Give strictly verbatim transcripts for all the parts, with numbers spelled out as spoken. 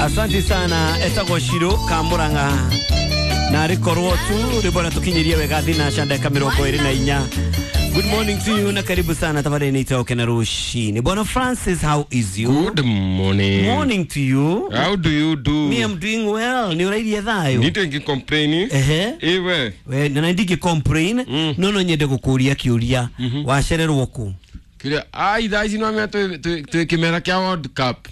Asante sana etagwo Shiro Kamuranga na rikorwo tu ribona tukinyirie wega thina chandeka mirongo iri na inya. Good morning to you na karibu sana tafadhali nitoke na rushini. Bwana Francis, how is you? Good morning. Morning to you. How do you do? Me, I'm doing well. Ni urairie thayo. Nite complain. Ehe. Ewe. We na ndingi complain. Mm. No no nyende gukuria kiuria. Mm -hmm. Wacererwo ku. Kiuria ai thaa ici no mea twi kimera kia World Cup.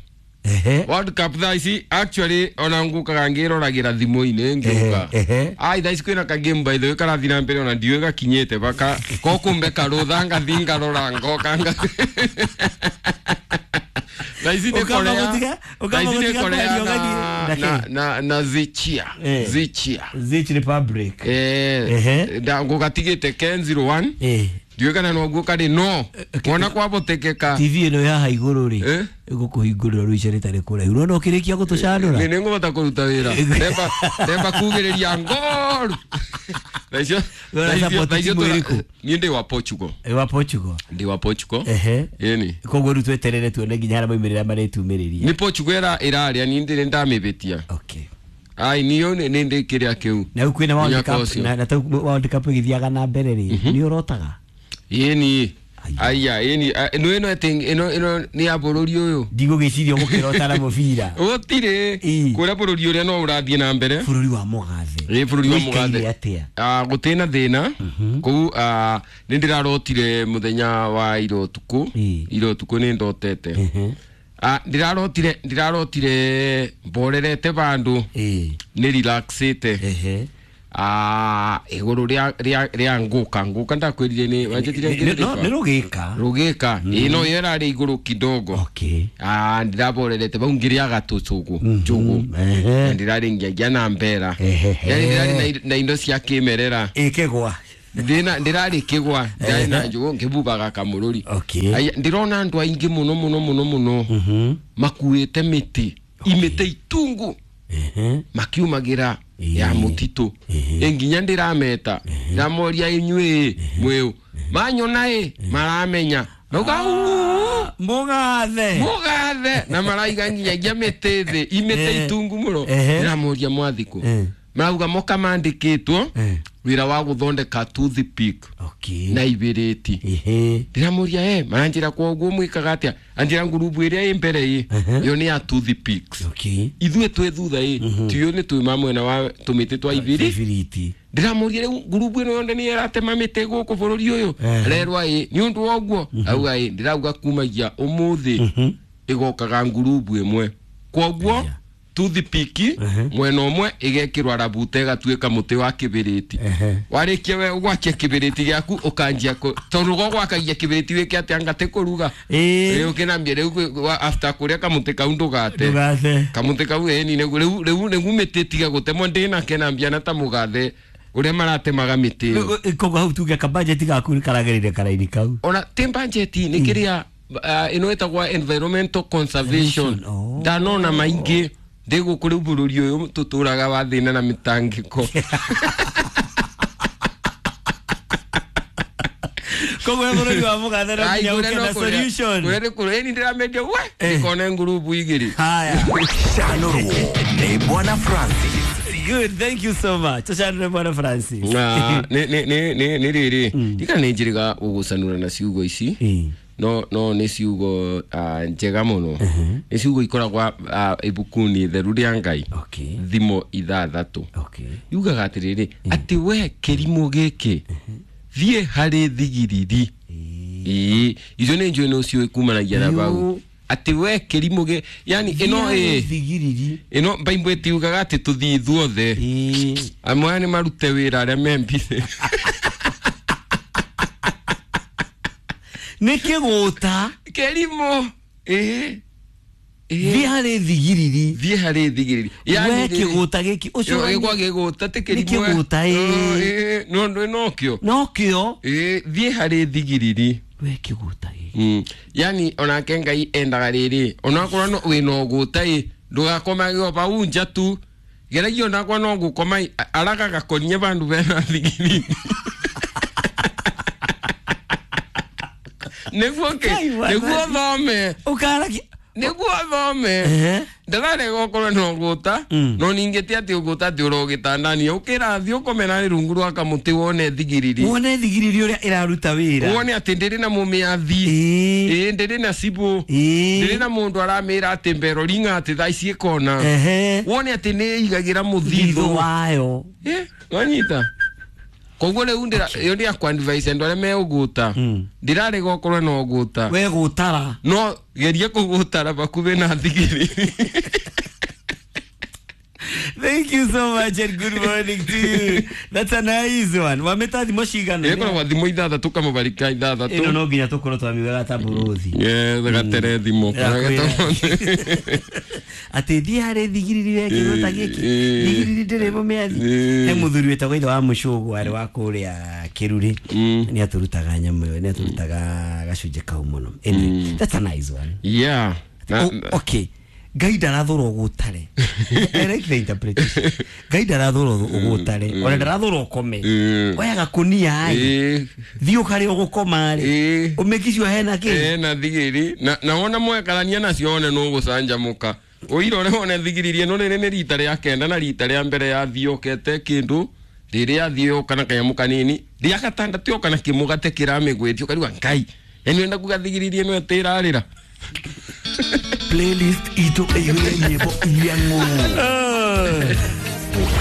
Ehe. World Cup thaa ici actually ona ngukaga ngiroragira thimu-ini ngiuka. Ai thaa ici kwina ka game by the way karathi na mbere ona ndiũĩ gakinyĩte baka ko kumbe karutha ngathi ngarora ngoka nga. Thaa ici nĩ Korea. Thaa ici nĩ Korea na na na Zichia. Zichia. Zich Republic. Eh. Nda ngugatigĩte ten zero one. Eh. Ndiũĩ kana no guo kari no wona kwabotekeka T V ino ya iguru ri igukuhingurira ruica ritari kuraihu no no kirikia gutucanura ni ningũhota kũruta wĩra ndemba ndemba kugĩrĩria ngoru thaa icio niĩ ndĩ wa Portugal. Wa Portugal ndĩ wa Portugal. Ehe ĩni koguo rĩu tweterere tuone nginya harĩa maumĩrĩra marĩtumĩrĩria ni Portugal ĩra ĩrarĩa niĩ ndĩrĩ ndamĩbĩtia. Okay. Ai niyo nĩ ndĩ kĩrĩa kĩu na rĩu kwĩna World Cup na na World Cup ĩgĩthiaga na mbere rĩ nĩ ũrotaga? Yeni aya yeni no ino thing ino ino ni ya bururi uyu ndigugiciria gukirota na mubira gutire kuria bururi uria no urathie na mbere bururi wa mugathe eh bururi wa mugathe ah gutina thina kuu ah ni ndirarotire muthenya wa iro tuku iro tuku ni ndotete ah ndirarotire ndirarotire mborerete bandu ni relaxete ehe ah iguru ria ria ria nguka nguka ndakwirire ni wanjitire ngire ni rugika rugika ino yera ri iguru kidogo. Okay. Ah ndiraborerete bau ngiriaga tucugu njugu ndirari ngiagia na mbera yani ndirari na indo cia kimerera ikigwa ndina ndirari kigwa ndari na njugu ngibubaga kamururi. Okay. Ndirona andu aingi muno muno muno muno makuite miti imite itungu makiumagira ya mutitu nginya ndirameta ndamoria inyuĩ mwiu manyona ĩ maramenya nauga mugathe mugathe na maraiga nginyagia mĩtĩ thĩ imĩtĩ itungu mũno ndĩramoria mwathikũ marauga moka mandĩkĩtwo wĩra wa gũthondeka toothpick na ibiriti ndĩramoria eh maranjĩra koguo mwĩkaga atĩa anjĩra ngurubu ĩrĩa ĩ mbere ĩ yo nĩ ya toothpicks ithuĩ twĩ thutha ĩ tiyo nĩ twĩ mamwena wa tũmĩtĩ twa ibiriti ndĩramoria rĩu ngurubu ĩno yothe nĩ ĩratema mĩtĩ gũkũ bũrũri ũyũ rerwa ĩ nĩ ũndũ wa ũguo auga ĩ ndĩrauga kumagia ũmũthĩ ĩgokaga ngurubu ĩmwe koguo toothpick mwena ũmwe igekirwa rabute gatuika muti wa kibiriti warikia we ugwakia kibiriti giaku ukanjia tondu gwakagia kibiriti wike atia ngate kuruga riu kinambia riu after kuria kamuti kau ndugate kamuti kau eni riu riu riu miti tiga gutemwo ndina kenambia na ta mugathe uria maratemaga miti koguo hau tuge ka budget gaku karagirire karaini kau ona ti budget ni kiria ino etagwa environmental conservation ndanona maingi ndigu kuri bururi uyu tuturaga wa thina na mitangiko koguo bururi wa mugathe no nginya uke na solution kuri kuri ni ndiramedia we ikone ngurubu igiri haya Chanurwo ni Bwana Francis. Good, thank you so much. Tuchanure Bwana Francis. Na ni ni ni ni ni riri ndika ni njiriga ugucanura na ciugo ici no no ni ciugo njega muno ni ciugo ikoragwa ibukuni theru ria Ngai thimo ithathatu yugaga atiriri ati we kirimo giki thie hari thigiriri ii icio ni njui no cio kumanagia na bau ati we kirimo ge yani ino eh thigiriri ino Bible itiugaga ati tuthii ithuothe amwe ni marute wira aria membithe nä kä gå ta kä rimå thiä harä thigiriri thiä harä thigiriri we kä gå ta gä ki å cio gä gwa gä gå ta tä kä kä gå ta no no kä no kä o thiä harä thigiriri we kä gå ta gä yani onake Ngai endaga rä onakorwo no wä na å gå ta ä ndågakomagio bau nja tu geragia onakwa no gå koma araga gakonie bandu bena thigiriri niguo ke niguo thome ukaraki Nĩguo athome. Ehe. Ndararega ũkorwo no ũgũta, no ningĩ ti atĩ ũgũta atĩ ũro gĩtandani ũkĩrathiĩ ũkome narĩ rungu rwa kamũtĩ wone thigiriri. Wone thigiriri ũrĩa ĩraruta wĩra. Wone atĩ ndĩrĩ na mũmĩathi. Ĩĩ. Ĩĩ, ndĩrĩ na cibũ. Ĩĩ. Ndĩrĩ na mũndũ aramĩra atĩ mbero ringa atĩ thaa ici ĩkona. Ehe. Wone atĩ nĩ ĩigagĩra Thitho mũthithũ. wayo. Eh, wanyita. Koguo rĩu ndĩra ĩyo ndĩ akwadvise andũ arĩa me ũgũta. Ndĩrarega ũkorwo na ũgũta. We gũtara. No geria kũgũtara bakuhĩ na thigiriri. Thank you so much and good morning to you. That's a nice one. Wameta thimo cigana? Ĩkoragwo thimũ ithathatũ kamũbarika ithathatũ. Ĩno no nginya tũkorwo twamiugaga ta mbũrũthi. Yeah, gatere thimũ. Atĩ thiĩ harĩ thigiriri we kĩndũ ta gĩkĩ. Ĩĩ. Thigiriri ndĩrĩ mũmĩathi. Ĩĩ. He mũthuri wĩtagwo ithe wa mũcũgũ arĩ wa kũrĩa Kĩrurĩ. Nĩ atũrutaga nyamũ ĩyo, nĩ atũrutaga gacunjĩ kau mũno. Anyway, that's a nice one. Yeah. Na- Oh, okay. Ngai ndarathũra ũgũtare. I like the interpretation. Ngai ndarathũra ũgũtare. Ona ndarathũra ũkome. Mm. Oya gakunia ĩ. Ĩĩ. Thiĩ ũkarĩa ũgũkoma rĩ. Ĩĩ. Ũmĩkicio hena kĩ? Ĩĩ, na thigiri na na wona mwekarania nacio wone nũgũcanjamũka. Ũirore wone thigiriri ĩno rĩrĩ nĩ rita rĩa kenda na rita rĩa mbere yathiĩ ũkete kĩndũ rĩrĩa yathiĩ yoka na kanyamũ kanini rĩa gatandatũ yoka na kĩmũgate kĩramĩgwĩtia ũkariuga Ngai yani wenda kuga thigiriri ĩno ĩtĩrarĩra. Playlist itũ ĩiyũire nyĩmbo iria ng'ũũ. Oh.